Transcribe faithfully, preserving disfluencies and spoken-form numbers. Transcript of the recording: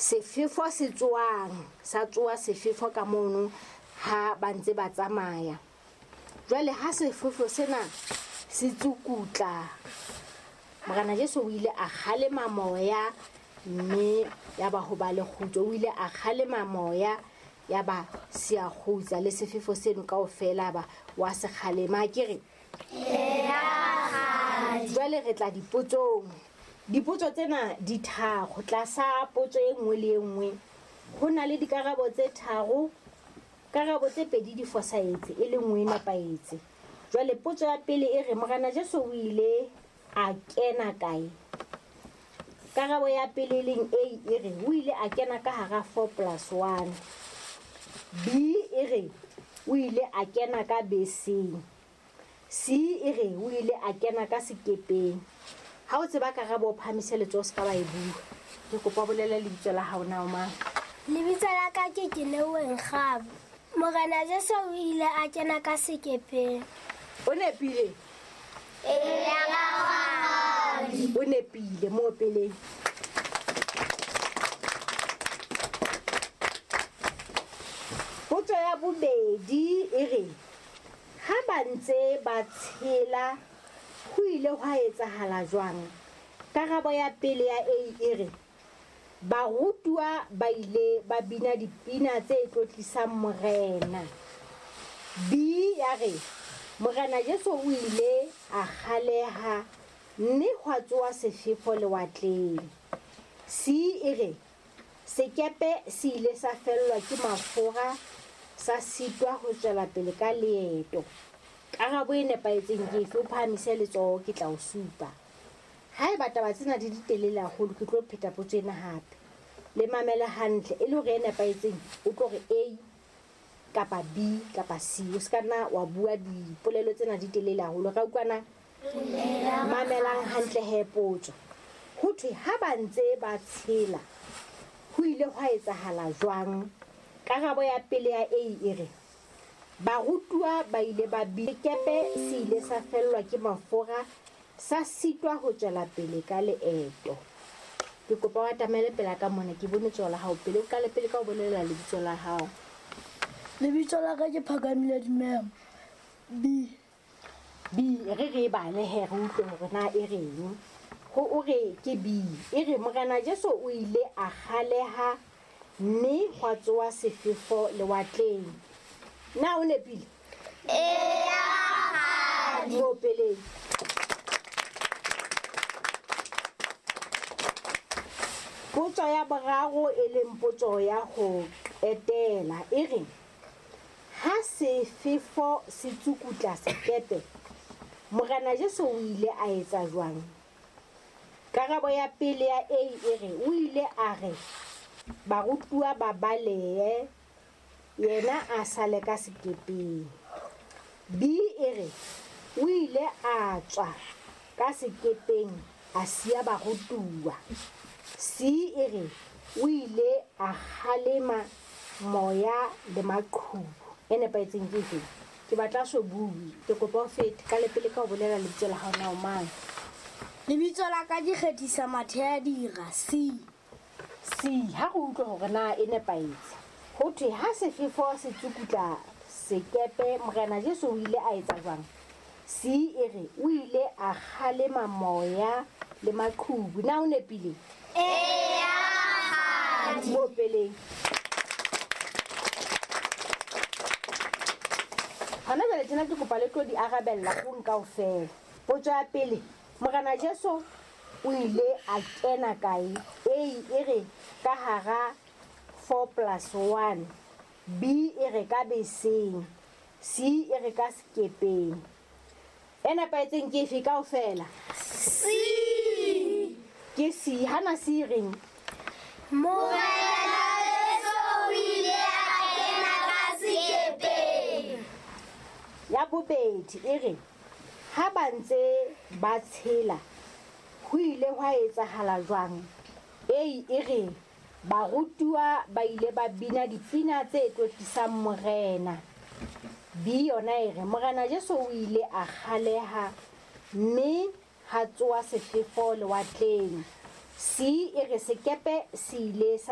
Sefefo se tsoang, sa tsoa sefefo ka mono ha ba ntse ba tsamaya. Jwale ha sefefo sena se tsukutla, Morena Jesu o ile a kgalema moya mme ya ba ho ba le kgutso. O ile a kgalema moya ya ba se a kgutsa, le sefefo seno kaofela ba wa se kgalema. Ke re jwale re tla dipotsong. Dipotso tsena di tharo. Tlasa potso e nngwe le e nngwe ho na le dikarabo tse tharo. Karabo tse pedi di fosahetse, e le nngwe e nepahetse. Jwale potso ya pele e re Morena Jesu o ile a kena kae? Karabo ya pele e leng A e re o ile a kena ka hara four plus one. B e re o ile a kena ka beseng. C e re o ile a kena ka sekepeng. Ha o tseba karabo o phahamise letsoho, se ka ba e bua. Ke kopa o bolele lebitso la hao na o mang? Lebitso la ka ke Keleweng Kgabo. Morena Jesu o ile a kena ka sekepeng. O nepile? Eya, rakgadi. O nepile mo peleng. Potso ya bobedi e re ha ba ntse ba tshela ho ile hwa etsahala jwang? Karabo ya pele ya A e re barutuwa ba ile ba bina dipina tse tlotlisang Morena. B ya re Morena Jesu o ile a kgaleha mme hwa tsoha sefefo lewatleng. C e re sekepe se ile sa fellwa ke mafura, sa sitwa ho tswela pele ka leeto. Karabo e nepahetseng ke efe? O phahamise letsoho, ke tla o supa. Haeba taba tsena di di telele haholo, ke tlo pheta potso ena hape. Le mamele hantle, e le hore e nepahetseng o tlo re A kapa B kapa C. O ska nna wa bua dipolelo tsena di telele haholo. Ra utlwana? Mamelang hantle he potso. Ho thwe ha ba ntse ba tshela ho ile hwa etsahala jwang? Karabo ya pele ya A e re barutuwa ba ile ba bina, sekepe se ile sa fellwa ke mafura, sa sitwa ho tswela pele ka leeto. Ke kopa o atamele pela ka mona, ke bone letsoho la hao pele. O qale pele ka ho bolela lebitso la hao. Lebitso la ka ke Phakamile Dumela. B. B, re re bale he re utlwe hore na e reng. Ho o re ke B. E re Morena Jesu o ile a kgaleha mme hwa tsoha sefefo lewatleng. Na o nepile? Eya, rakgadi. Mo peleng. Potso ya boraro e leng potso ya ho qetela e re ha sefefo se tsukutla sekepe, Morena Jesu o ile a etsa jwang? Karabo ya pele ya A e re o ile a re barutuwa ba balehe, yena a sale ka sekepeng. B e re o ile a tswa ka sekepeng a siya barutuwa. C e re o ile a kgalema moya le maqhubu. E nepahetseng ke efe? Ke batla so bue. Ke kopa o fete ka lepele ka ho bolela lebitso la hao na o mang? Lebitso la ka ke Kgethisa Mathea Dira. C. C, ha re utlwe hore na e nepahetse. Ho thwe ha sefefo se tsukutla sekepe, Morena Jesu o ile a etsa jwang? C e re o ile a kgalema moya le maqhubu. Na o nepile? Eya, rakgadi. Mo peleng. Hona jwale tjena ke kopa le tlo di arabella ho kaofela. Potso ya pele, Morena Jesu o ile a kena kae? A e re ka hara four plus one. B e re ka beseng. C e re ka sekepeng. E nepahetseng ke efe kaofela? C. Ke C. Hana C reng? Morena Jesu o ile a kena ka sekepeng. Ya bobedi e re ha ba ntse ba tshela ho ile hwa etsahala jwang? A e re barutuwa ba ile ba bina dipina tse tlotlisang Morena. B yona e re Morena Jesu o ile a kgaleha mme ha tsoha sefefo lewatleng. C e re sekepe se ile sa